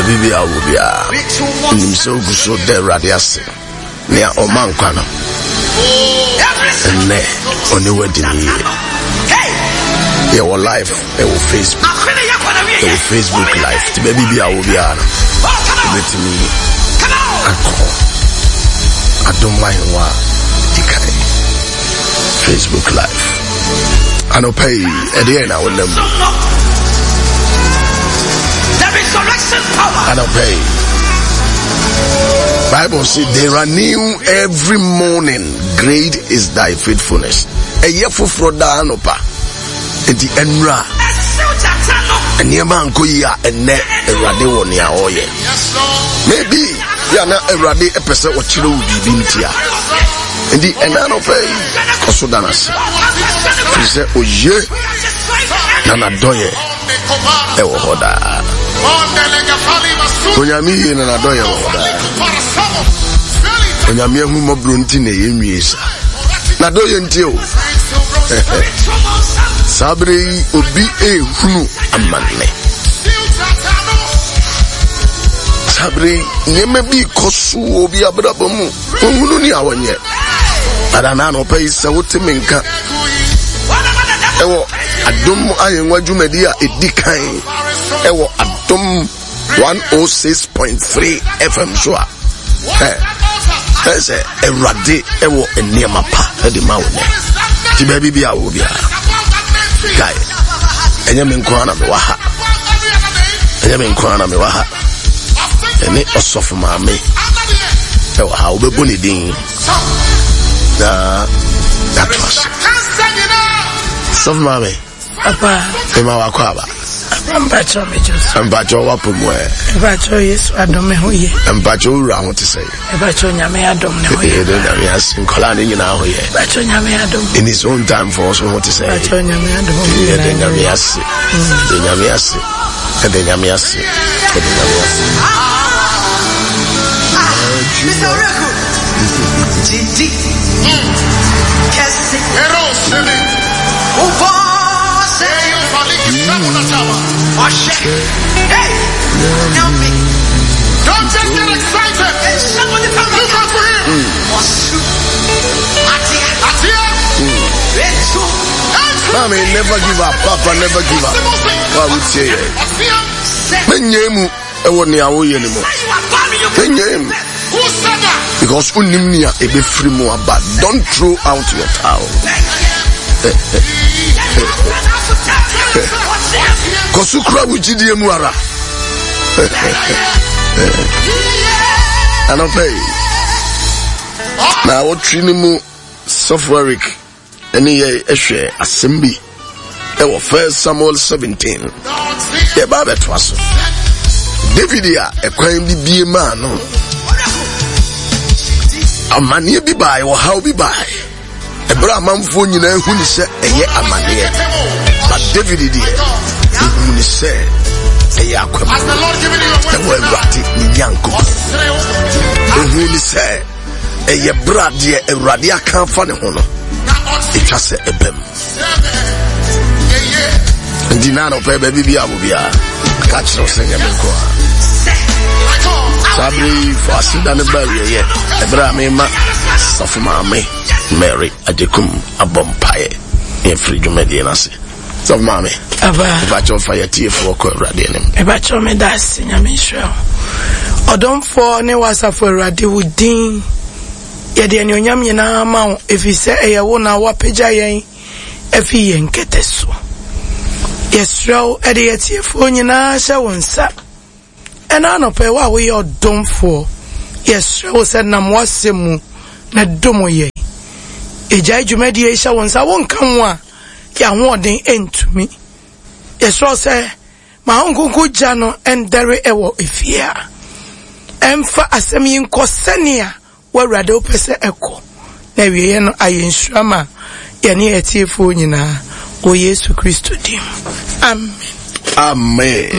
Baabi bi a wɔ biara, nim sɛ wogu so da Awurade ase. Nea ɔma nkwa no, ɛnnɛ ɔne wadi ne yie. Yɛwɔ live ɛwɔ Facebook, ɛwɔ Facebook live. Ti baabi bi a wɔ biara no, wobɛtumi akɔ Adom Ahengua di kan Facebook live. Anɔpa yi, ɛdeɛ na wonam mu. Anɔpa yi, Bible say there are new every morning. Great is thy faithfulness. Ɛyɛ foforɔ daa anɔpa. Nti ɛnura nneɛma ankɔ yi a ɛnɛ Awurade wɔ nea ɔreyɛ. Maybe yɛ na Awurade pɛ sɛ ɔkyerɛ wo biribi ntia. Nti ɛna anɔpa yi kɔ so da no ase. Firi sɛ oye na n'adɔyɛ ɛwɔ hɔ daa. Onyame yie na n'adɔyɛ wɔ hɔ daa. Onyame ahummɔborɔ nti na ɛyɛ nwie sa. N'adɔyɛ nti o. Saa bere yi obi ehunu amanne. Saa bere yi nneɛma bi kɔ so wɔ obi abrabɔ mu. Ohunu nea wɔnyɛ. Ada na anɔpa yi sɛ wote me nka ɛwɔ adom ahengua dwumadi a ɛdi kan ɛwɔ adom 106.3 fm so a ɛ sɛ awurade ɛwɔ nneɛma pa ɛde ma wo nɛ nti baabi bi a wɔ biara kae ɛnyɛ me nko ara na mewɔ ha ɛnyɛ me nko ara na mewɔ ha ɛne ɔsɔfo maame ɛwɔ ha wobɛbɔ ne din na yɛatoa so sɔfo maame papa mema wakɔ aba mpakyɛ megye so mpakyɛ wapɔ mu ɛ mpakyɛ yesu adom me ho yɛ mpakyɛ wowura ho te sɛ mpakyɛ nyame adom ne ho yɛ yɛde nyame ase nkɔlaa ne nyinaa ho yɛ mpakyɛ nyame adom in his own time for so ho te sɛ mpakyɛ nyame adom yɛde nyame ase yɛde nyame ase Yɛda Nyame ase. Yɛda Nyame ase. Mr. Oreku. Gidi. Kɛse. Wobɔ sɛ. Ɔhyɛ. Hey. Nyame. Don't just get excited. Look out for him. Ɔsu. Atia. Atia. Etu. Mami, never give up. Papa, never give up. Wa wotie yɛ. Menyɛ mu ɛwɔ nea woyɛ no mu. Menyɛ mu. Because wonim nea ɛbɛfiri mu aba. Don't throw out your towel. Kɔ so kura wo gyidie mu ara. Anɔpɛ yi, na awɔtwe no mu Sɔfo Eric ɛne yɛ ɛhwɛ asɛm bi ɛwɔ First Samuel 17 yɛba abɛtoa so David a ɛkwan bi bie maa no amanneɛ bi bae ɔhaw bi bae ɛberɛ amanfoɔ nyinaa hu ne sɛ ɛyɛ amanneɛ but David deɛ ɔhu ne sɛ ɛyɛ akwam ɛwɔ Awurade ne Nyankopɔn ɔhu ne sɛ ɛyɛ berɛ a deɛ awurade aka afa ne ho no ɛtwa sɛ ɛbam nti na anɔpɛ baabi bi a wo biara ka kyerɛ wo sɛ nyɛ me nko a saa berɛ yi fo aseda no ba awieɛ ɛberɛ a mema sɔfo maame mary agyekum abɔ mpaeɛ ne afiri dwumadie no ase Sɔfo maame. Aba. Mepakyɛw fa yɛtiefoɔ kɔ Awurade anim. Mepakyɛw meda ase Nyame nhyira wo. Ɔdomfoɔ ne w'asafo Awurade wo din yɛde anuonyam nyinaa ma wo ɛfiri sɛ ɛyɛ wo na woapagya yɛn afi yɛn kɛtɛ so. Yɛsrɛ wo ɛde yɛtiefoɔ nyinaa hyɛ wo nsa. Ɛna anɔpa yi wo a woyɛ ɔdomfoɔ yɛsrɛ wo sɛ nam w'asɛm mu na dom yɛn. Yɛgyae dwumadie yi hyɛ wo nsa wonka ho a yɛn ahoɔden ntumi. Yɛsrɛ wo sɛ ma wo nkonko gya no ndɛre wɔ efie a. Ɛmfa asɛm yi nkɔ sɛnea w'Awurade wopɛ sɛ ɛkɔ, na awieeɛ no ayɛ nhyira ma yɛne yɛn atiefoɔ nyinaa wɔ Yesu Kristo din mu. Amen. Amen.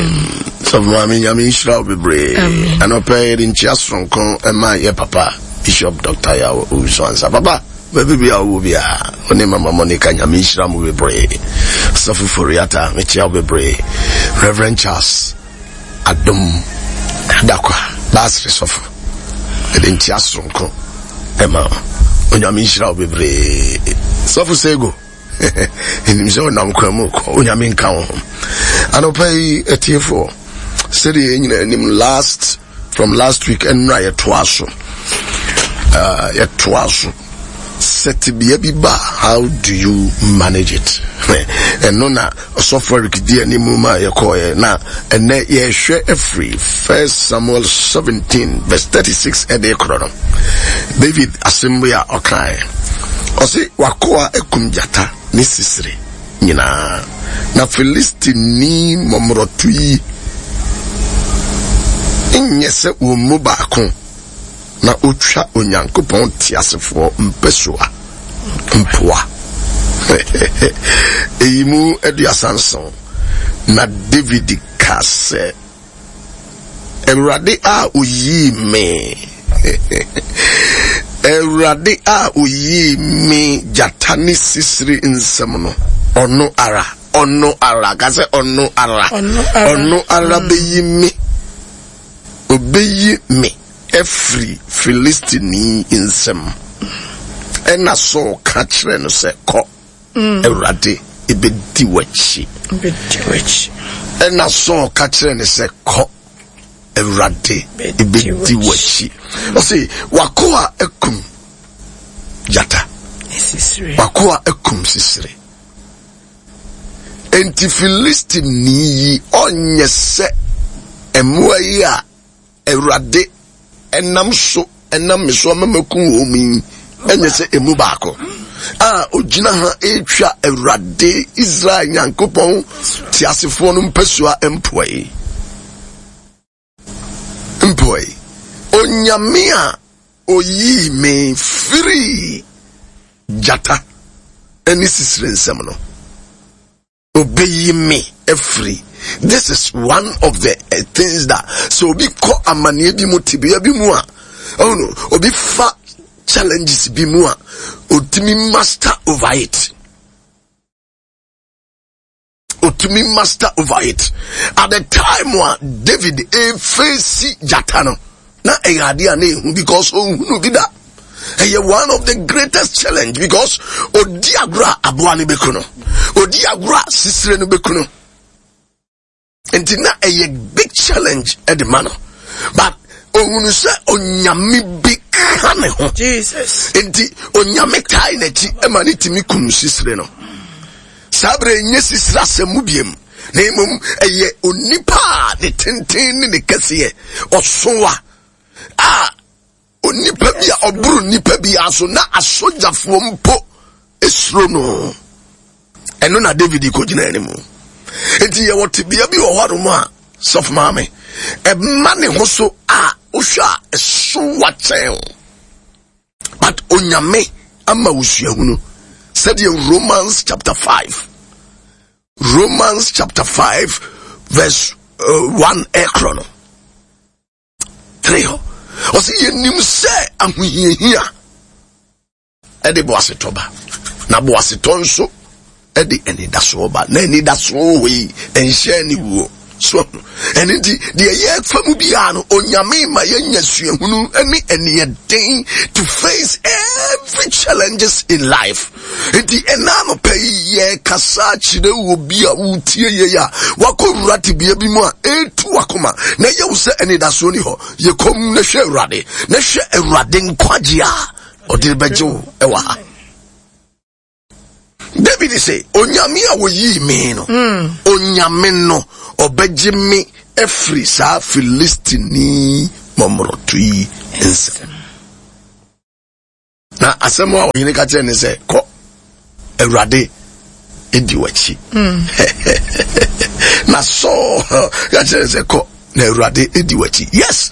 Sɔfo maame nyame nhyira wo bebree. Anɔpɛ yɛde nkyia soronko ɛma yɛ papa Bishop Dr. Yaw Owusu Ansah. Papa Baabi biara a wowɔ biara, wo ne Mama Monica Nyame nhyira mo bebree. Sɔfo Foriata, mekyia wo bebree. Reverend Charles Adom. Dakwa baasere sɔfo ɛde nkyia soronko ɛma Onyame nhyira wo bebree. Sɔfo Sego ɛnim sɛ ɔnam kwan mu kɔ Onyame nka wo ho. Anɔpa yi atiefoɔ sɛdeɛ yɛn nyinaa anim last from last week ɛnora yɛtoa so uh, yɛtoa so sɛ tebea bi ba how do you manage it ɛno na ɔsɔfo Eric di anim ma yɛkɔɔɛ na ɛnɛ yɛhwɛ afiri first Samuel 17 verse 36 ɛde korɔ no David asɛm bi a ɔkaeɛ ɔse wakoa akum gyata ne sisire nyinaa na Filistini mmɔmmorɔto yi nyɛ sɛ wɔn mu baako na otwa Onyankopɔn teasefoɔ mpasua mpoa. Eyi mu 37. Na David ka sɛ, Awurade a oyii me, Awurade a oyii me gyata ne sisiri nsam no, ɔno ara, ɔno ara, ka sɛ ɔno ara, ɔno ara bɛyi me. Obeyi me afiri Filistini nsam. Ɛnna Saul ka kyerɛɛ no sɛ, Kɔ, mm. Awurade ebedi w'akyi. Ɛnna Saul ka kyerɛɛ no sɛ, Kɔ, Awurade ebedi w'akyi. Ɔse, w'akoa akum gyata, w'akoa akum sisire. Enti Filistini yi ɔnyɛ sɛ mmoa yi a Awurade nam so nam me so ama maku wɔn yi, ɛnyɛ sɛ emu baako a ogyina ha retwa Awurade Israel Nyankopɔn teasefoɔ no mpasua mpoa yi. Mpoa yi. Onyame a oyii me firii gyata ne sisire nsam no, obeyi me afiri. This is one of the eh, things that so obi kɔ amaneɛ bi mu tebea bi mu a oh no, obi fa challenges bi mu a otumi master over it. Otumi master over it. At the time a David efeesi gyata no, na ɛyɛ adeɛ a na ehu because ohunu bi da. Ɛyɛ one of the greatest challenge because odi agorɔ a aboa no bɛku no, odi agorɔ a sisire no bɛku no. Nti na ɛyɛ big challenge ɛde ma no. But ohunu sɛ onyame bi ka ne ho. Jesus. Nti onyame tae n'akyi ɛma ne tumi kum sisire no. Saa berɛ nyɛ sisire asɛm mu biem na mmom ɛyɛ onipa a ne tenten ne ne kɛseɛ ɔsowa a Onipa bi a ɔboro nipa bi so na asogyafoɔ mpo suro no. Ɛno na David kɔgyina anim. Nti yɛwɔ tebea bi wɔ hɔnom a sɔfo maame ɛma ne ho so a wohwɛ a ɛso wakyɛn but onyame ama wo suahunu sɛdeɛ Romans chapter 5 Romans chapter 5 verse 1 ɛkorɔ no 3 hɔ ɔsɛ yɛnim sɛ ahohiahia ɛde boasetɔ ba na boasetɔ nso ɛde anidasoɔ ba na anidasoɔ wɔ yi ɛnhyɛ aniwuo so ɛno nti deɛ yɛfa mu biara no onyame ma yɛnya suahunu ne aniɛden to face every challenges in life Enti ɛna anɔpa yi yɛkasa kyerɛ wɔ bi a wotie yei a wakɔ wura tebea bi mu a ɛretu wakoma na ɛyɛ wo sɛ anidasoɔ ni hɔ. Yɛ komm na hwɛ Awurade na hwɛ Awurade nkwagye a ɔde bɛgye wo ɛwɔ ha. David sɛ onyame a wɔyii me no mm. onyame no ɔbɛgye me afiri saa Filistini mɔmorɔto yi nsam. Na asɛm a ɔhene ka kyerɛ ne sɛ, kɔ, Awurade di w'akyi. Hmm. Na Saul ka kyerɛ sɛ, kɔ, na Awurade di w'akyi. Yes,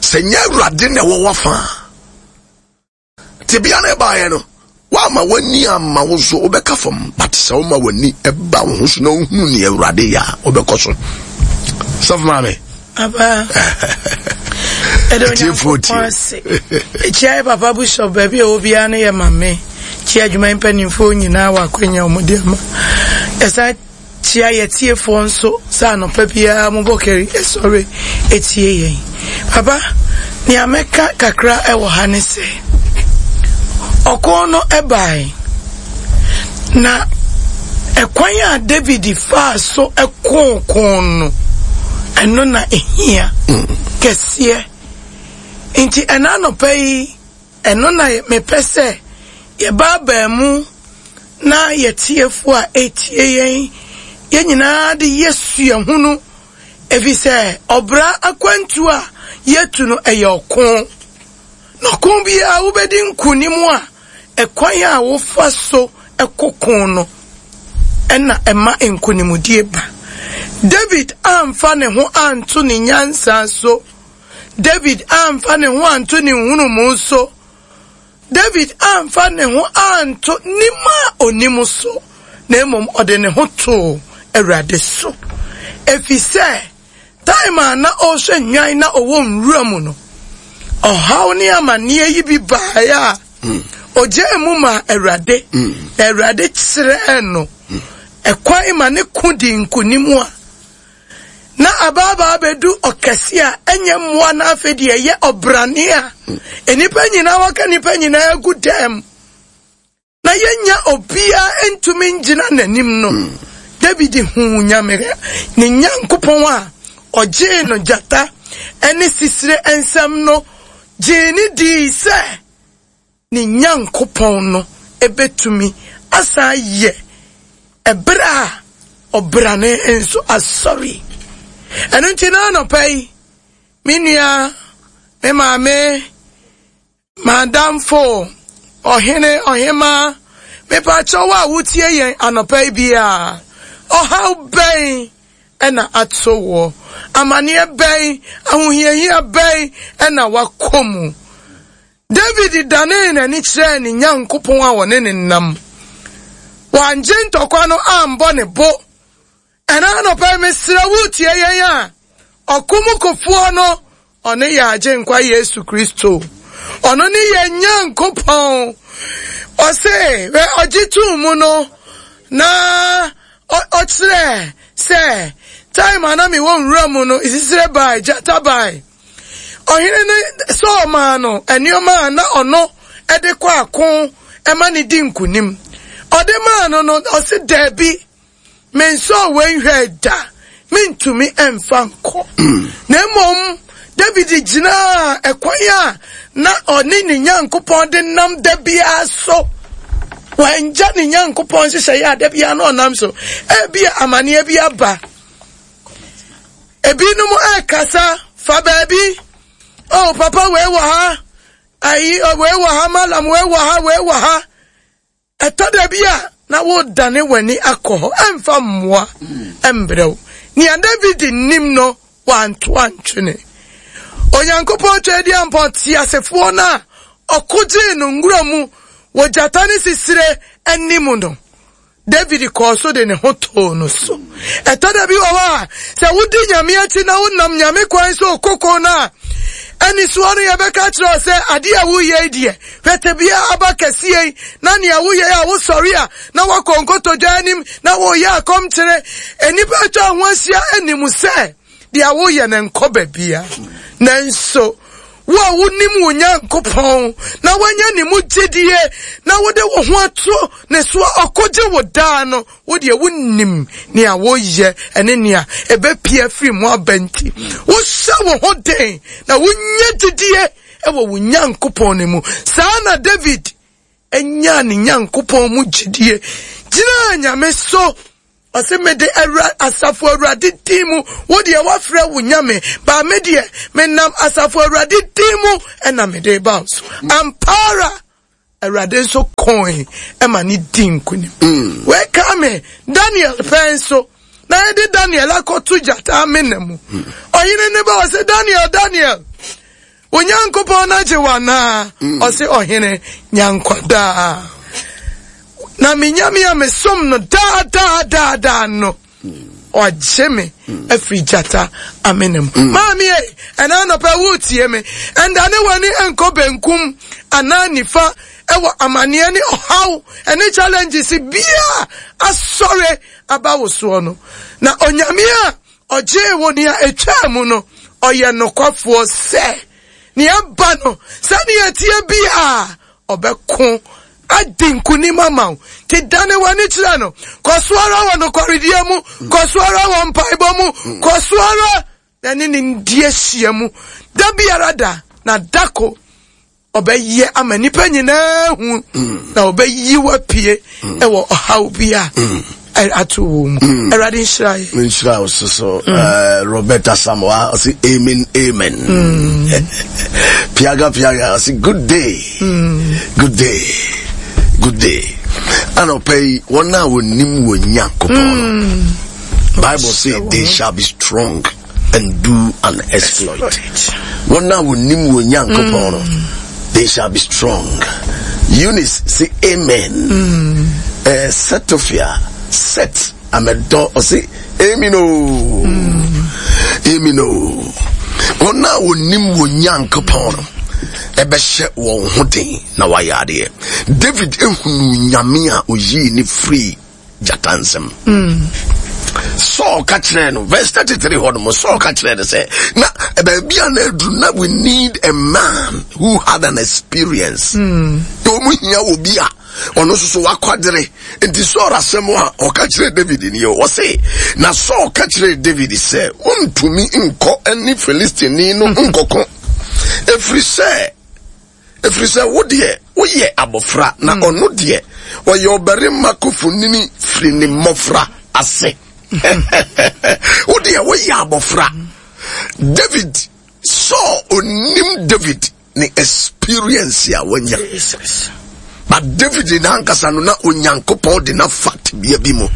sɛ nyɛ Awurade na ɛwɔ w'afa a, tebea no ɛbaeɛ no, woama w'ani amma wo so wobɛka fam, but sɛ woma w'ani ɛba wo ho so na wohunu ne Awurade yɛ a, wobɛkɔ so. Sɔfo maame. Aba. Ɛdɛ Onyankopɔn ase. Ekyia yɛ papa bishop baabi a ɛwɔ biara no yɛ mame. Kyia adwuma mpanimfoɔ nyinaa wɔ akwanya wɔn de ama. Ɛsan kyia yɛ tiefoɔ nso sɛ anɔpa biara mobɔ kari ɛsɔre etie yɛn. Papa, nea mɛka kakra wɔ ha ne sɛ, ɔko no bae, na ɛkwan a David faa so koo ko no, ɛno na ehia kɛseɛ. Nti ɛna anɔpa yi, ɛno na mepɛ sɛ yɛbaabaa mu na yɛtiefo a ɛtie yɛn, yɛn nyinaa de yɛ suahunu. Efisɛ ɔbra akwantu a yɛtu no, ɛyɛ ɔko. Na ɔko biara wobɛdi nkonim a, ɛkwan a wofa so kɔ ko no na ɛma nkonimdie ba. David amfa ne ho anto ne nyansa so. David amfa ne ho anto ne nhunumu so. David amfa ne ho anto nim a onim so, na mmom ɔde ne ho too Awurade so. Efisɛ time a na ɔrehwɛ nnwan na ɔwɔ nwura mu no, ɔhaw ne amanneɛ yi bi baeɛ a ogyaa mu maa Awurade, na Awurade kyerɛɛ no ɛkwan ma ne ko dii nkonim a na abaabaa bɛdu ɔkɛse a ɛnyɛ mmoa na afei deɛ ɛyɛ ɔbrane a nnipa nyinaa wɔka nnipa nyinaa agu dɛm na yɛnya obiara ntumi ngyina n'anim no. David huu Nyame, ne Nyankopɔn a ɔgyee no gyata ne sisire nsam no, gyee ne dii sɛ ne Nyankopɔn no bɛtumi asan ayɛ ɛberɛ a ɔbrane nso asɔre. Ɛno nti na anɔpa yi, me nua, me maame, m'adamfo, ɔhene, ɔhemaa, mepakyɛw a wotie yɛn anɔpa yi biara, ɔhaw bɛn na ato woɔ? Amaneɛ bɛn, ahohiahia bɛn na wakɔ mu? David danee n'ani kyerɛɛ ne Nyankopɔn a ɔne ne nam. Wangye ntɔkwa no ambɔ ne bo. Ɛna anɔpa yi mesrɛ wo tie yɛn a, ɔko mu kofoɔ no, ɔne yɛn Agyenkwa Yesu Kristo. Ɔno ne yɛn Nyankopɔn. Ɔse, hwɛ ɔgye too mu no, na ɔkyerɛ sɛ time a na mewɔ nwura mu no, sisire bae, gyata bae. Ɔhene no Saul maa no nneɛma a na ɔno de kɔ ako ma no di nkonim. Ɔde maa no no, ɔse daabi, mensɔɔ wei nhwɛe da, mentumi mfa nkɔ. Na mmom David gyinaa ɛkwan a na ɔne ne Nyankopɔn de nam da biara so. Wangya ne Nyankopɔn nhyehyɛeɛ a da biara na ɔnam so. Ebia amanneɛ bi aba. Ebinom ɛrekasa fa baabi. Oh, papa wei wɔ ha. Ayi, oh, wei wɔ ha, malam wei wɔ ha, wei wɔ ha. Ɛtɔ da bi a na wodane w'ani akɔ hɔ. Ɛmfa mmoa mbrɛ wo. Nea David nim no, wanto antwene. Onyankopɔn Tweaduampɔn teasefoɔ no a ɔko gyee no nwura mu wɔ gyata ne sisire anim no, David kɔɔ so de ne ho too no so. Ɛtɔ da bi wɔ hɔ a, sɛ wodi Nyame akyi na wonam Nyame kwan so koko no a, anisoɔ no yɛbɛka kyerɛ wo sɛ adeɛ a woyɛ yi deɛ, hwɛ tebea aba kɛseɛ yi, na nea woyɛ a wosɔre a na woakɔ nkotodwe anim na woyɛ akɔmkyere. Nnipa atwa ho ahyia anim sɛ deɛ woyɛ no nkɔ baabia. Nanso, wo a wonim wo Nyankopɔn na woanya ne mu gyedie na wode wo ho ato ne so a ɔkogye wo daa no, wo deɛ wonim nea woyɛ ɛne nea ɛbɛpie afiri mu aba nti, wohyɛ wo ho den na wonya gyedie wɔ wo Nyankopɔn no mu. Saa na David nyaa ne Nyankopɔn mu gyedie gyinaa Nyame so. Ɔse mede awura asafo awurade din mu, wo deɛ woafrɛ wo nyame, baa me deɛ menam asafo awurade din mu ɛna mede ba wo so. Ampa ara Awurade nso kɔe ɛma ne di nkonim. Mm. Wei ka me Daniel pɛn nso na yɛde Daniel akɔto gyata amena mu. Mm. Ɔhene ne ba ɔse Daniel, Daniel, Wo Nyankopɔn no agye wo anaa? Mm. Ɔse ɔhene, nya nkwa daa. Na me Nyame a mesom no daa daa daa daa no, ɔagye me mm. afiri gyata amena mu. Mm. Maame ei, ɛna anɔpa woretie me, ɛndane w'ani nkɔ benkum anaa nifa ɛwɔ amanneɛ ne ɔhaw ɛne challenges bia asɔre aba wo soɔ no. Na Onyame a... ɔgyee wo nea ɛtwaa mu no, ɔyɛ nokwafoɔ sɛ nea ɛba no, sɛnea ɛteɛ biara, ɔbɛko adi nkonim ama wo. Nti dane w'ani kyerɛ no. Kɔ so ara wɔ nokwaredie mu, kɔ so ara wɔ mpaebɔ mu, kɔ so ara na ne ne ndi ahyia mu da biara da, na dako ɔbɛyɛ ama nnipa nyinaa hu na ɔbɛyi wapue ɛwɔ ɔhaw bi a ato wɔ mu. Awurade nhyira yɛ. Nhyira wo so so. Roberta Samoa ɔse amen amen. Piaga Piaga ɔse good day. Good day. Good day. Anɔpa yi wɔn a wɔnim wɔn Nyankopɔn no. Bible say they shall be strong and do an exploit. Wɔn a wɔnim wɔn Nyankopɔn no, they shall be strong. Eunice say amen. Setofia set amedɔ ɔse amen o. Amen o. Wɔn a wɔnim wɔn Nyankopɔn no ɛbɛhyɛ wɔn ho den na wɔayɛ adeɛ. David ehunu Nyame a oyii ne firi gyata nsam. Saul ka kyerɛɛ no, verse 33 hɔ nom, Saul ka kyerɛɛ no sɛ, na baabi a na aduru na we need a man who had an experience. Na wɔn hia wɔ bi a ɔno nso so wakwadere. Nti Saul asɛm a ɔka kyerɛɛ David ni o, ɔse, na Saul ka kyerɛɛ David sɛ, wontumi nkɔ ne Filistini no nkɔko, ɛfiri sɛ Ɛfiri sɛ wo deɛ, woyɛ abɔfra, na ɔno deɛ, ɔyɛ ɔbarima kofonini firi ne mmɔfra ase. Wo deɛ, woyɛ abɔfra. David, Saul onim David ne experience a wanya. But David n'ankasa no, na Onyankopɔn de n'afa tebea bi mu.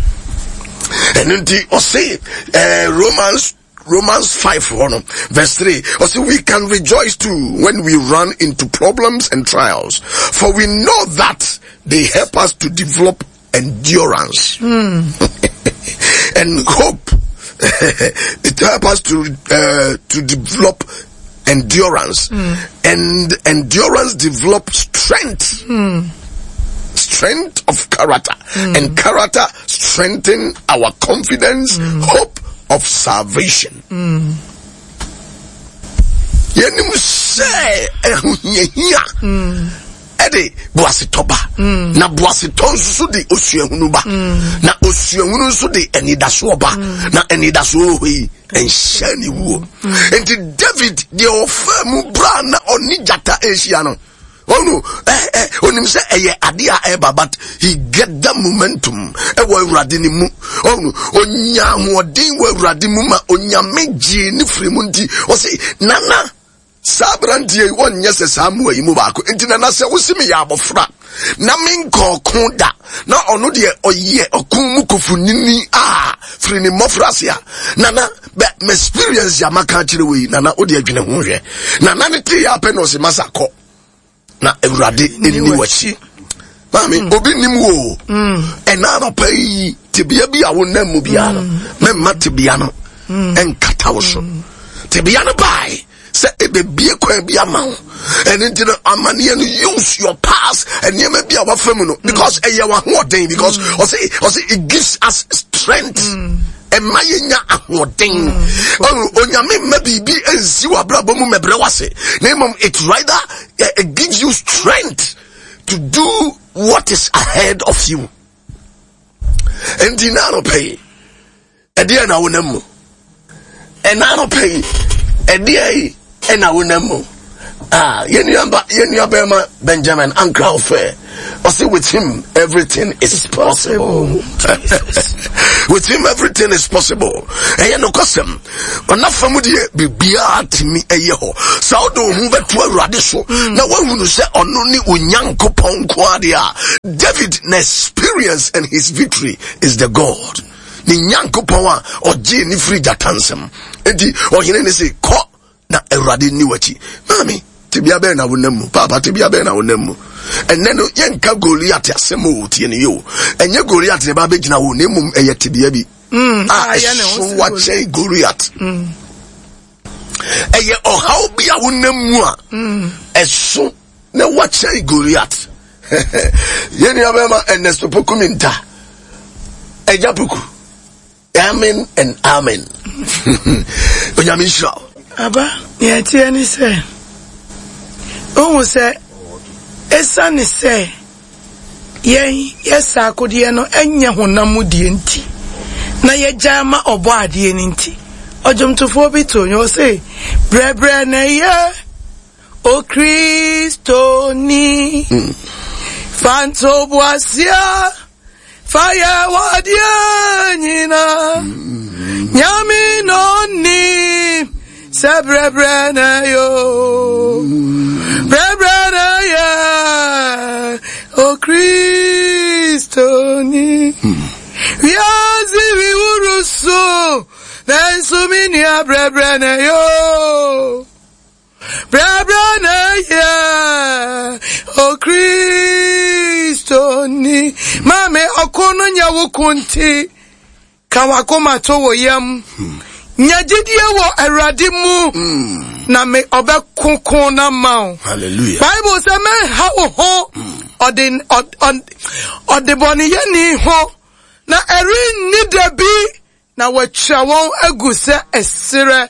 Ɛno nti, ɔse, Romans 5 hɔ no, verse 3, ɔse we can rejoice too when we run into problems and trials, for we know that they help us to develop endurance. And hope. It helps us to develop endurance. And endurance develops strength. Strength of character. And character strengthen our confidence, hope of salvation. Yɛnim sɛ ɛhohiahia ɛde boasetɔ ba, na boasetɔ nso so de osuahunu ba, na osuahunu nso de anidasoɔ ba, na anidasoɔ wɔ hɔ yi ɛnhyɛ ne wuo. Nti David deɛ ɔfaa mu bra na ɔne gyata ahyia no, ɔno onim sɛ ɛyɛ ade a ɛba, but he get the momentum ɛwɔ Awurade ne mu. Ɔno onya ahoɔden wɔ Awurade mu ma Onyame gyee ne firi mu. Nti ɔse, nana, saa aberanteɛ yi wɔnyɛ sɛ saa mmoa yi mu baako. Nti nana, sɛ wosi meyɛ abɔfra na menkɔ ɔko da, na ɔno deɛ ɔyɛ ɔko mu kofonini a firi ne mmɔfra ase a, nana, bɛ me experience a maka akyerɛ wei, nana, wode adwene ho hwɛ. Nana ne tee yɛ apɛ na ɔse, masa, kɔ na Awurade ɛni w'akyi. Maame, obi nim wo. Ɛna anɔpa yi, tebea bi a wonam mu biara no, mɛmma tebea no ɛnkata wo so. Tebea no bae sɛ ɛbɛbie kwan bi ama wo. Ɛno nti no, amanneɛ no, use your past, nneɛma bi a wafa mu no, because ɛyɛ w'ahoɔden, because ɔse it gives us strength. Ɛma yɛnya ahoɔden. Onyame mma biribi nsi w'abrabɔ mu mɛbrɛ w'ase, na mmom it rather it gives you strength to do what is ahead of you. Nti na anɔpa yi, ɛdeɛ na wonam mu? Ɛna anɔpa yi, ɛdeɛ yi ɛna wonam mu? Yɛn nua bɛrima Benjamin Ankra Ofɛ, ɔse with him everything is possible. With him everything is possible. Ɛyɛ nokwasɛm. Ɔnafa mu deɛ biribiara tumi ɛyɛ hɔ. Sɛ wode wo ho bɛto Awurade so na woahunu sɛ ɔno ne Onyankopɔn nko adeɛ a, David na experience and his victory is the God. Ne Nyankopɔn a ɔgyee ne firi gyata nsam. Enti ɔhene ne se, kɔ na Awurade nni w'akyi. Maame, tebea bɛn na wonam mu? Paapa, tebea bɛn na wonam mu? Ɛnnɛ no, yɛnka Goliat asɛm o, tie ne yɛ o. Ɛnyɛ Goliat na ɛba abɛgyina wo, na mmom ɛyɛ tebea bi a ɛso wakyɛn Goliat. Ɛyɛ ɔhaw bi a wonam mu a ɛso na wakyɛn Goliat. Yɛn nua bɛrima Ernest Poku Minta, Agya Poku. Amen and amen. Onyame nhyira wo. Aba, nea ɛteɛ ne sɛ, wohu sɛ esiane sɛ yɛn yɛ saa akodeɛ no nyɛ honam mu deɛ nti, na yɛgya ma ɔbɔ adeɛ no nti, ɔdwomtofoɔ bi too nnwom ɔse, brɛbrɛ na ɛyɛ Okristoni, fa ntoboaseɛ Fa yɛ w'adeɛ nyina Nyame na ɔnim sɛ brɛbrɛ na ɛyɛ o Brɛbrɛ na ɛyɛ Okristoni Wiase wi wuru so nanso me nua brɛbrɛ na ɛyɛ o Brɛbrɛ na yɛ Okristoni. Maame, ɔko no nyɛ wo ko nti, ka w'akoma to wo yam. Nya gyidie wɔ Awurade mu, na me ɔbɛko ko no ama wo. Hallelujah. Bible sɛ mɛnha wo ho ɔde ɔdebɔneyɛni ho, na ɛrenni da bi Na wɔatwa wɔn agu sɛ ɛserɛ.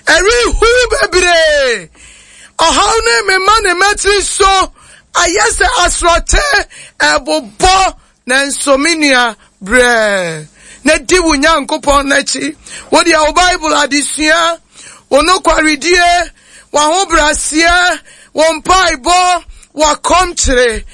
Ɛrehuw bebree. Ɔhaw no remema ne mmatiri so ayɛ sɛ asorɔkye ɛrebobɔ. Nanso me nua, brɛ na di wo Nyankopɔn akyi. Wo deɛ wo Bible adesua, wo nokwaredie, w'ahobrɛaseɛ, wo mpaebɔ, w'akɔmkyere,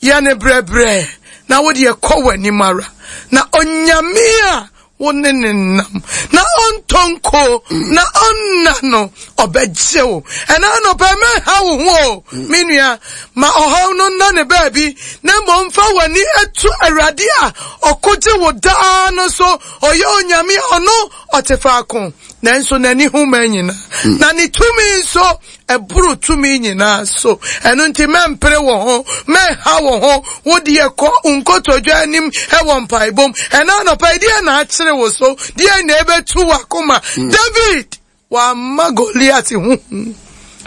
Yɛ no brɛbrɛ na wo deɛ kɔ w'anim ara, na Onyame a wo ne no nam na ɔntɔ nko na ɔnna no, ɔbɛgye wo. Ɛna anɔpa yi, mɛnha wo ho o, me nua, ma ɔhaw no nna ne baabi, na mmom fa w'ani to Awurade a ɔkogye wo daa no so. Ɔyɛ Onyame a ɔno ɔte faako, nanso n'ani hu mmaa nyinaa, na ne tumi nso Ɛboro tumi nyinaa so. Ɛno nti mɛmpere wo ho, mɛnha wo ho. Wo deɛ kɔ wo nkotodwe anim wɔ mpaebɔ mu. Ɛna anɔpa yi, deɛ na akyere wo so? Deɛ na ɛbɛtu w'akoma? Mm. David, wamma Goliat ho hu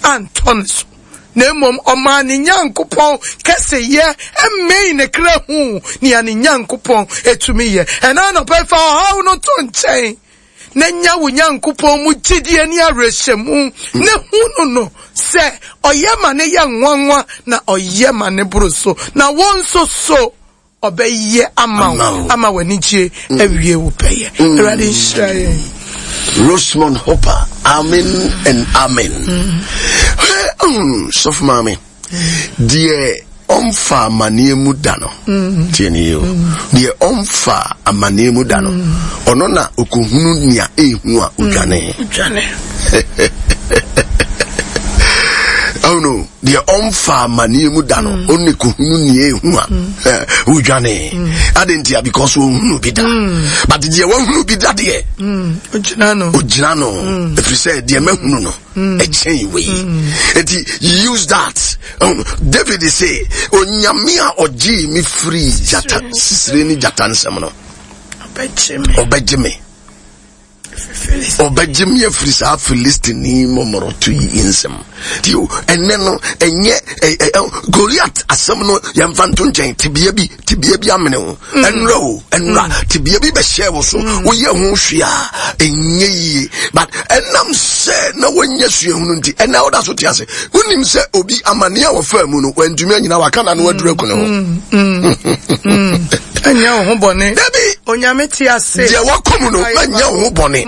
antɔ ne so. Na mmom ɔmaa ne Nyankopɔn kɛseyɛ mmɛn ne kra hu nea ne Nyankopɔn etumi yɛ. Ɛna anɔpa yi, fa ɔhaw no to nkyɛn. na nya wo Nyankopɔn mu gyidie ne awerɛhyɛmu, na hu no no sɛ ɔyɛ ma no yɛ nwanwa na ɔyɛ ma no boro so, na wo nso so ɔbɛyɛ ama wo ama w'anigye mm. awie wo pɛyɛ. Mm. Awurade nhyira yɛn. Rosemond Hopper, amen and amen. Mm. Sɔfo maame. Deɛ ɔmfa amaneɛ mu da no, mm. tie ne yie o, mm. deɛ ɔmfa amaneɛ mu da no, mm. ɔno na ɔkɔhunu nea ɛhu a ɔdwane. Oh no, deɛ ɔmfa amaneɛ mu da no, ɔne kɔhunu nea ɛhu a ɔdwane. Ade ntia because ɔhunu bi da. But deɛ wahunu bi da deɛ, ɔgyina no, ɔgyina no, ɛfiri sɛ deɛ mahunu no. Mm. ɛkyɛn wei mm. eti use that um, david say onyame a ɔgyee me firi gyata sisire ne gyata nsɛm no ɔbɛgye me ɔbɛgye me afiri saa filistini mɔmɔrɔto yi nsɛm nti ɛnɛ no ɛnyɛ goliat asɛm no yɛmfa nto nkyɛn tebea bi tebea bi amene wo mm. ɛnora o ɛnora mm. tebea bi bɛhyɛ wo so mm. woyɛ ho hwee a ɛnyɛ yie but ɛnam sɛ na wɔnyɛ suahunu nti ɛnɛ woda so te ase wonim sɛ obi amanneɛ a wɔfaa mu no wantumi anyina waka na no aduru aku ne ho ɛnyɛ wo ho bɔne dabi onyame te ase deɛ wakɔ mu no ɛnyɛ wo ho bɔne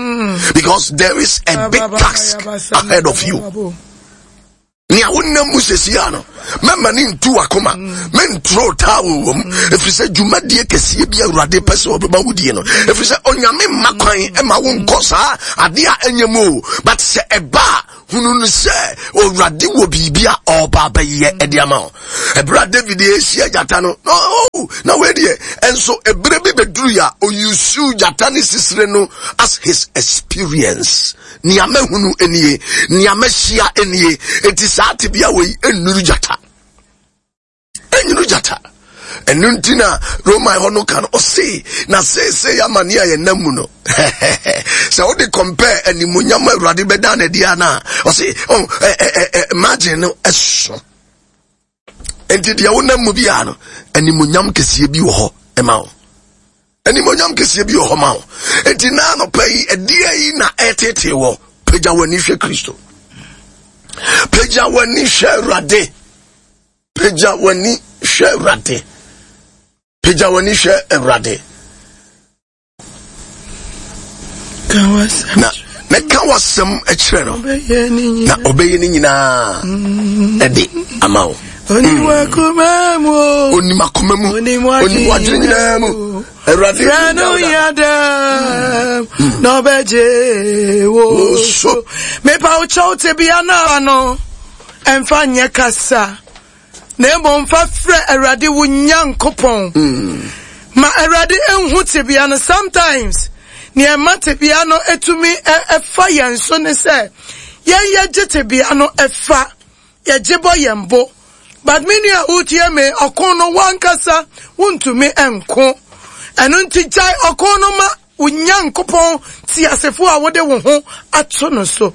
because there is a big task ahead of you Nea wonam mu sɛsi a no, mɛma ne ntu wakoma, menturo towel wɔ mu, ɛfiri sɛ dwumadie kɛseɛ bi Awurade pɛ sɛ ɔbɛma wodie no, ɛfiri sɛ Onyame mma kwan ma wonkɔ saa adeɛ a ɛnyɛ mu o, but sɛ ɛba a, hunu no sɛ Awurade wɔ biribi a ɔreba abɛyɛ ɛde ama wo. Ɛberɛ a David ɛrehyia gyata no, na oh, na wei deɛ, ɛnso ɛberɛ bi bɛduru a, ɔyusu gyata ne sisire no as his experience. Nea mahunu nie, nea mahyia nie. Enti saa tebea wei nnuru gyata. Nnuru gyata. Ɛno nti na Roman hɔ no ka no, ɔse, na seesei amane a yɛnam mu no, sɛ wode compare animuonyam a Awurade bɛda no adi a no a, ɔse, oh, margin no ɛso. Enti deɛ wonam mu biara no, animuonyam kɛseɛ bi wɔ hɔ ɛma wo. Animonyam kɛseɛ bi wɔ hɔ ma wo. Enti na anɔpa yi, ɛdeɛ yi na ɛtetee wɔ. Pagya w'ani hwɛ Kristo. Pagya w'ani hwɛ Awurade. Pagya w'ani hwɛ Awurade. Pagya w'ani hwɛ Awurade. Na mɛka w'asɛm kyerɛ no na ɔbɛyɛ ne nyinaa ɛde ama wo. Onim akoma mu. Onim akoma mu. Onim wadwene nyinaa mu. Awurade Frɛ no yadam na ɔbɛgye wo so. Mepa wo kyɛw tebea no ano ɛmfa nyɛ kasa. Na mmom fa frɛ Awurade wo Nyankopɔn. Ma Awurade nhu tebea no. Sometimes, nea ɛma tebea no etumi ɛfa yɛn so ne sɛ yɛn yɛgye tebea no ɛfa, yɛgye bɔ yɛn bo. But me nua wotie me, ɔko no wankasa wontumi nko. Ɛno nti gyae ɔko no ma wo Nyankopɔn teasefo a wode wo ho ato no so.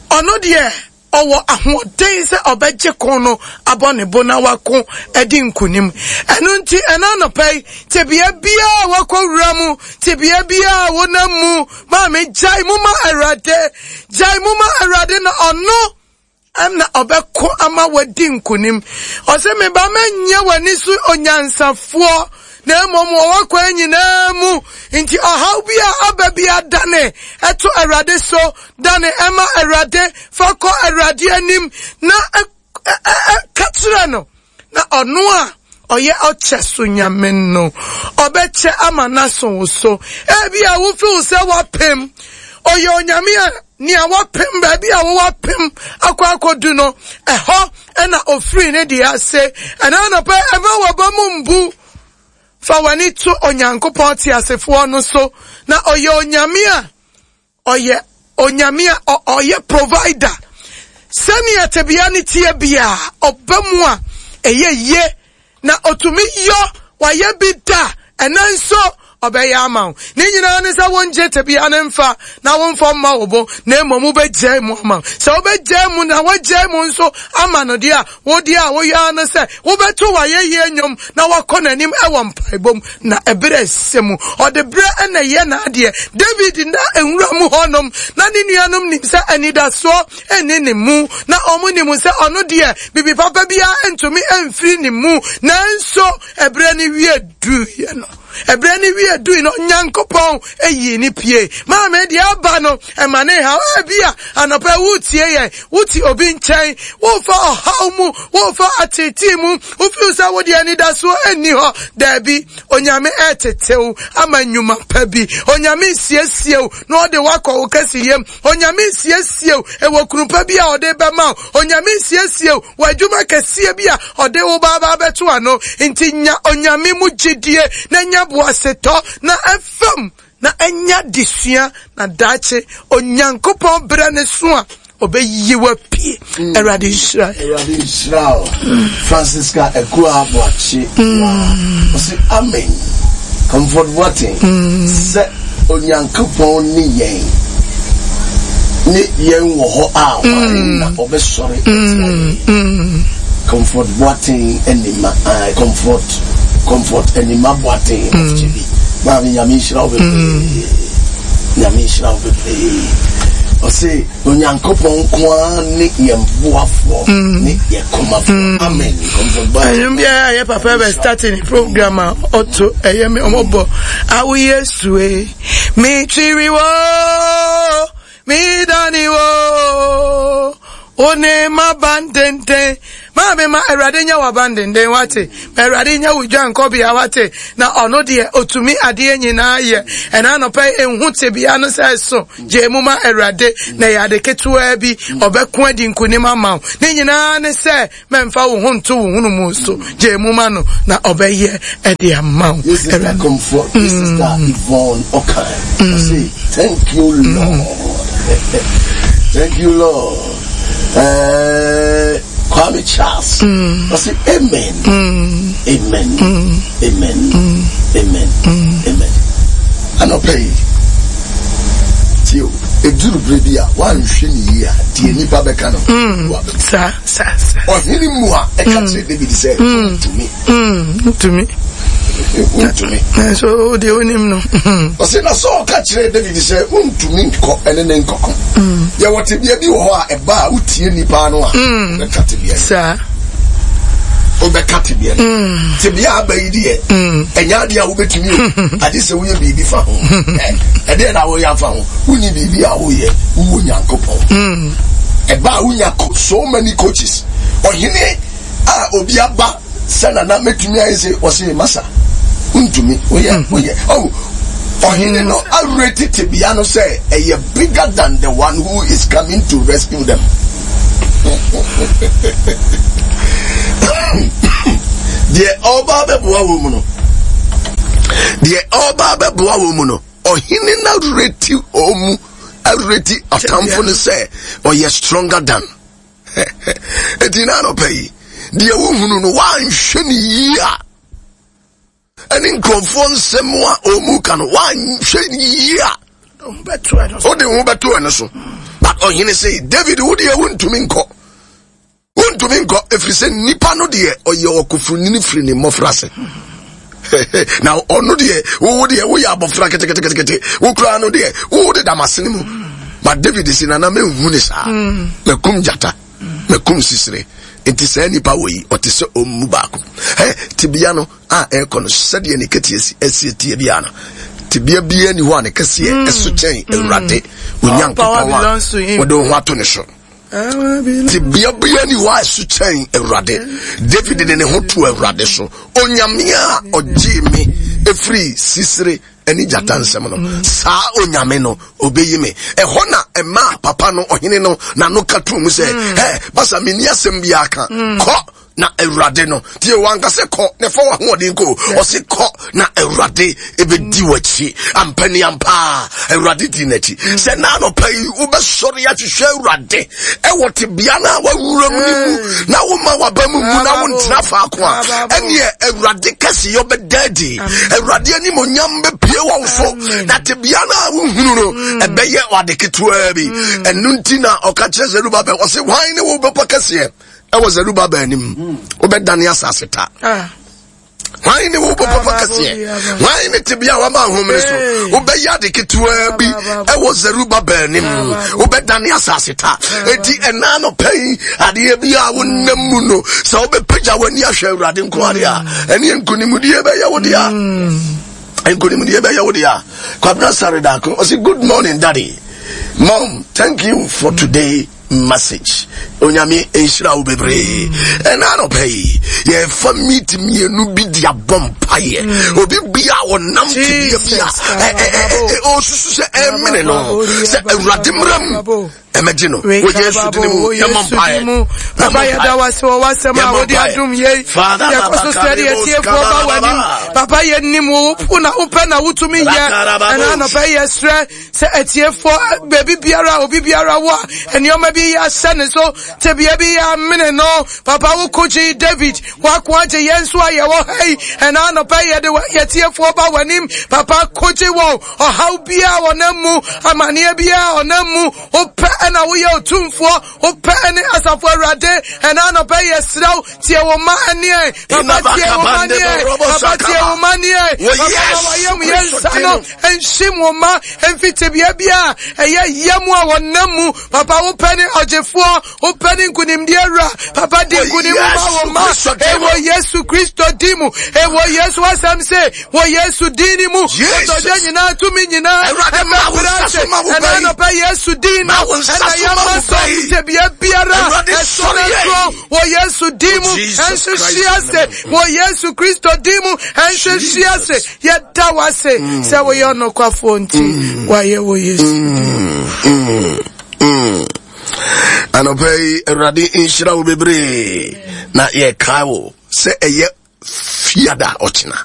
Ɔno deɛ Ɔwɔ ahoɔden sɛ ɔbɛgye ko no abɔ ne bo na wako adi nkonim. Ɛno nti, ɛna anɔpa yi, tebea biara a wakɔ wura mu, tebea biara a wonam mu, maame gyae mu ma Awurade. Gyae mu ma Awurade na ɔno na ɔbɛko ama wadi nkonim. Ɔsɛ me ba mɛnyɛ w'ani so onyansafoɔ na mmom wɔ w'akwan nyinaa mu. Nti ɔhaw bi a aba bi adane ɛto Awurade so, dane ɛma Awurade, fa kɔ Awurade anim na ka kyerɛ no, na ɔno a ɔyɛ ɔkyɛ so nyame no, ɔbɛkyɛ ama n'aso wo so. Ebi a wofeel sɛ wapem, ɔyɛ onyame a nea wapem, baabi a wowapem akɔ akɔdu no, ɛhɔ ɛna ofiri ne deɛ ase. Ɛna anɔpɛ ɛma waba mu mbu. Fa w'ani to Onyankopɔn teasefoɔ no so, na ɔyɛ onyame a ɔyɛ onyame a ɔyɛ provider. Sɛnea tebea no teɛ biara, ɔba mu a ɛyɛ yie na ɔtumi yɔ, wayɛ bi da, ɛnɛ nso ɔbɛyɛ ama wo. Ne nyinaa ne sɛ wongye tebea no mfa na womfa mma wo bo, na mmom wobɛgyae mu ama wo. Sɛ wobɛgyae mu na woagyae mu nso ama no deɛ a, wo deɛ a woyɛ ara ne sɛ wobɛto w'ayɛyie nnwom na woakɔ n'anim wɔ mpaebɔ mu, na ɛberɛ ɛsɛ mu. Ɔde berɛ na ɛyɛ n'adeɛ. David na nwura mu hɔnom, na ne nuanom nim sɛ anidasoɔ nni ne mu, na wɔn nim sɛ ɔno deɛ biribi papa biara ntumi mfiri ne mu, nanso ɛberɛ no wie duiɛ no, ɛberɛ no wie dui no, Onyankopɔn yii ne pie. Maame, deɛ aba no, ɛma ne haw. Ebi a anɔpa wotie yɛn, wote obi nkyɛn, wofa ɔhaw mu, wofa ateetee mu, wofeel sɛ wode anidasoɔ nni hɔ. Daabi, Onyame ɛretetew ama nnwuma pa bi. Onyame resiesie wo na ɔde wakɔ wo kɛseyɛ mu. Onyame resiesie wo ɛwɔ kunu pa bi a ɔde bɛma wo. Onyame resiesie wo wɔ adwuma kɛseɛ bi a ɔde wo ba aba abɛto ano. Nti nya Onyame mu gyidie na nya boasetɔ na ɛfam na nya adesua na daakye Onyankopɔn berɛ ne so a ɔbɛyi wo apue. Mm. Awurade nhyira. Awurade nhyira wo. Francisca Akua Aboakye. Mm. Ɔse amen. Comfort Boateng. Mm. Sɛ Onyankopɔn ne yɛn ne yɛn wɔ hɔ a hwan mm. na ɔbɛsɔre atia yɛn? Mm. Comfort Boateng Anima, uh, Comfort Comfort Anima Boateng of Chibi. Maame Nyame nhyira wo bebree. Nyame nhyira wo bebree. Ɔse Onyankopɔn nko ara ne yɛn boafoɔ mm. ne yɛn komafoɔ. Mm. Amen. Ɛnwom biara yɛ papa bɛ start ne program a ɔto ɛyɛ me ɔmɔbɔ awo Yesu e mi twiri wo mi dani wo one ma bandenden maame ma awurade nyɛ w'abandenden wate ma awurade nyɛ wo dwankɔbea wate na ɔno deɛ otumi adeɛ nyinaa yɛ ɛna anɔpɛ ehu tebea no sɛ ɛso Gyae mu ma Awurade, na ɛyɛ ade ketewaa bi, ɔbɛko adi nkonim ama wo. Ne nyinaa ne sɛ, mɛmfa wo ho nto wo hunumu so. Gyae mu ma no, na ɔbɛyɛ ɛde ama wo. This sister Comfort, this sister mm. Yvonne Okan. Mm. Say, thank you, mm. Lord. Thank you, Lord. Kwame Charles. I say, Amen. Amen. Amen. Amen. Amen. Anɔpa yi, tie o, eduru bere bi a woanhwɛ ne yie a, deɛ nnipa bɛka no, mm. Saa, saa, saa. Ɔhene mu a ɛka mm. kyerɛ David sɛ, mm. ntumi. Ntumi. Wontumi. Nanso wo deɛ wonim no. Ɔse na Saul ka kyerɛɛ David sɛ wontumi nkɔ ɛne ne nkɔko. Mm. Yɛwɔ tebea bi wɔ hɔ a ɛba a wotie nnipa no a mm. wobɛka tebea no. Saa. Wobɛka tebea no. Mm. Tebea aba yi deɛ ɛnyɛ adeɛ a wobɛtumi o. Agye sɛ woyɛ biribi fa ho. Ɛdeɛ na woyɛ afa ho. Wonni biribi a woyɛ wowɔ Nyankopɔn. Ɛba a wonya so many coaches. Ɔhene a obi aba sɛ nana mɛtumi ayɛ sɛ ɔse masa wontumi woyɛ hmm. woyɛ oh ɔhene no awerɛ tebea no sɛ ɛyɛ bigger than the one who is coming to rescue them deɛ ɔba bɛboa wɔ mu no deɛ ɔba bɛboa wɔ mu no ɔhene no awerɛ ti ɔmu awerɛ ti ɔtamfo no sɛ ɔyɛ stronger than Enti na anɔpa yi, deɛ wohunu no woanhwɛ ne yie a, ɛne nkurɔfoɔ nsɛm a ɔmu ka no woanhwɛ ne yie a, wode ho bɛto ɛno so. But ɔhene sɛ, David, wo deɛ wontumi nkɔ. Wontumi nkɔ, ɛfiri sɛ nnipa no deɛ ɔyɛ ɔkofonini firi ne mmɔfra ase. na ɔno deɛ wowo deɛ woyɛ abɔfra keteketekete wo koraa no deɛ wowo de damasene mu but david si nana menhu ne saa mm. makum gyata makum sisire nti saa nipa wɔ yi ɔte sɛ ɔmmu baako ɛ tebea no a ɛrekɔ no sɛdeɛ ne kɛteɛ si ɛsi tie biara no tebea biara ni hɔ a ne kɛseɛ mm. ɛso kyɛn mm. Awurade Onyankopɔn a wɔde wo ho ato ne so. Tebea biara ni hɔ a ɛso kyɛn Awurade. David de ne ho to Awurade so. Onyame a ɔgyee me efiri sisire ne gyata nsɛm no, saa onyame no obeyi me. Ɛhɔ na ɛmaa papa no ɔhene no n'ano ka tuu mu sɛ, hɛ, basa menni asɛm biara ka. Kɔ na Awurade no. Tie wanka sɛ kɔ na ɛfa w'ahoɔden kɔ. Ɔse kɔ na Awurade ebedi w'akyi. Ampa ni ampa Awurade di n'akyi. Mm. Sɛ na anɔpa yi wobɛsɔre ahwehwɛ Awurade ɛwɔ tebea no a wawura mu no mu mm. na woma waba mu mu na wontena faako a ɛneɛ Awurade kɛseyɛ bɛda adi. Awurade animonyam bɛpue wɔ wo so na tebea no a wohunu no mm. ɛbɛyɛ ade ketewaa bi. Ɛno nti na ɔka kyerɛ Zerubabel ɔse hwan ne wo bɛpɔ kɛseɛ ɛwɔ Zerubabel anim hmm. wobɛdane asase ta ah. hwan ne wo bɔpɔpɔ kɛseɛ hwan ne tebea a wama ahomene so wobɛyɛ ade ketewaa bi ɛwɔ Zerubabel anim wobɛdane asase ta enti ɛna anɔpa yi adeɛ bi a wonam mu no sɛ wobɛpagya w'ani ahwɛ Awurade nko adeɛ a ɛne nkonimdie bɛyɛ wo dea nkonimdie bɛyɛ wo dea. Kwabena Sare Daako ɔse good morning daddy mom thank you for today message Onyame nhyira wo bebree ɛna anɔpa yi yɛfa meet mmienu bi de abɔ mpaeɛ mm. obi bia ɔnam tebea bi a ɔsusu sɛ ɛmene no sɛ awurade mmara mu ɛmɛgye no wɔ Yesu din mu yɛmmɔ mpaeɛ. Papa yɛda wo ase wɔ w'asɛm a wode adom yei. Yɛkɔ so srɛ deɛ atiefoɔ ba w'anim. Papa yɛnim wo wo na wopɛ na wotumi yɛ. Ɛna anɔpa yi yɛsrɛ sɛ atiefoɔ baabi biara obi biara wɔ a nneɛma bi yɛ ahyɛ ne so tebea bi yɛ amene no. Papa wo ko gye David wako agye yɛn nso a yɛwɔ ha yi. Ɛna anɔpa yi yɛde yɛtiefoɔ ba w'anim. Papa ko gye wɔn ɔhaw biara ɔnam mu amaneɛ biara ɔnam mu. Wopɛ ɛna woyɛ otumfoɔ. Wopɛ ɛne asafo awurade. Ɛna anɔpa yi yɛsrɛ wo tie wo mma ɛneɛ. Papa tie wo mma neɛ. Papa tie wo mma neɛ. Papa ma wayam yɛ nsa no nhyim wo mma mfi tebea bi a ɛyɛ yɛ mu a wɔnam mu. Papa wopɛ ne ɔgyefoɔ. Wopɛ ne nkunimdie wura. Papa di nkunim ma wo mma. Ɛwɔ Yesu Kristo din mu. Ɛwɔ Yesu asɛm se wɔ Yesu din ni mu. Kotodwe nyinaa tumi nyinaa ɛbɛbrɛ ase. Ɛna anɔpɛ Yesu din no ɛna yɛma so tebea biara ɛso na ɛkorɔn wɔ Yesu din mu. Ɛnhwehwe ase wɔ Yesu Kristo din mu. Ɛnhwehwe ase. Yɛda wo ase sɛ woyɛ ɔnokwafoɔ nti wayɛ wɔ Yesu din. Anɔpɛ yi Awurade nhyira wo bebree na yɛkae wo sɛ ɛyɛ fiada ɔkyena.